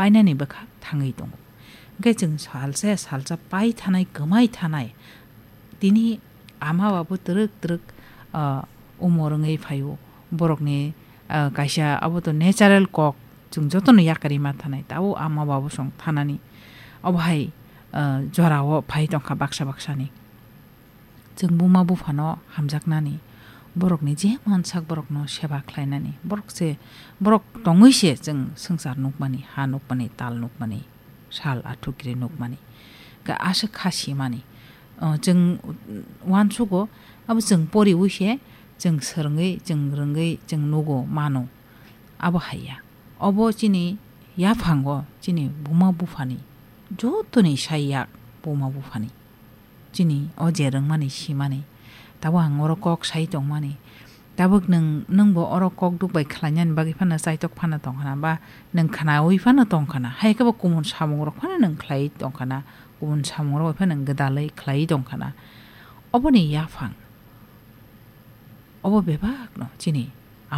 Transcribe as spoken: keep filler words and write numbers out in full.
painani bwkhak thangwi tongo. Hwnkhe chwng salsa salsa pai thanai, kwmai thanai, tini ama babu twrwk twrwk, ah, umor wngwi phaio. Borokni, ah, kaisa abo to natural kok, chwng jotono yakarwi ma thanai, tabuk ama babu song thanani. Obo hai, ah, jorao phai tongkha baksa baksani. Chwng buma buphano hamjaknani, borokni je mansak borokno seba khlainani, borok se, borok tongwi se chwng swngchar nukmani, ha nukmani, tal nukmani, sal athukiri nukmani, khe aswk kha simani. O, chwng uansugo, abo chwng poriwi se, chwng swrwngwi, chwng rwngwi, chwng nugo, mano. Abo hai ya. Obo chini yaphango, chini buma buphani, jotoni sai yak buma buphani. Chini o je rwngmani simani. Tabuk ang oro kok sai tongmani. Tabuk nwng, nwngbo oro kok duk bai khlainani bagwi phano chaitok phano tongkhana, ba nwng khnaui phano tongkhana. Hai khe bo kumun samungrok phano nwng khlaiwi tongkhana. Kumun samungrok bai phano nwng gwdalwi khlaiwi tongkhana. Oboni yaphang. Obo bebakno chini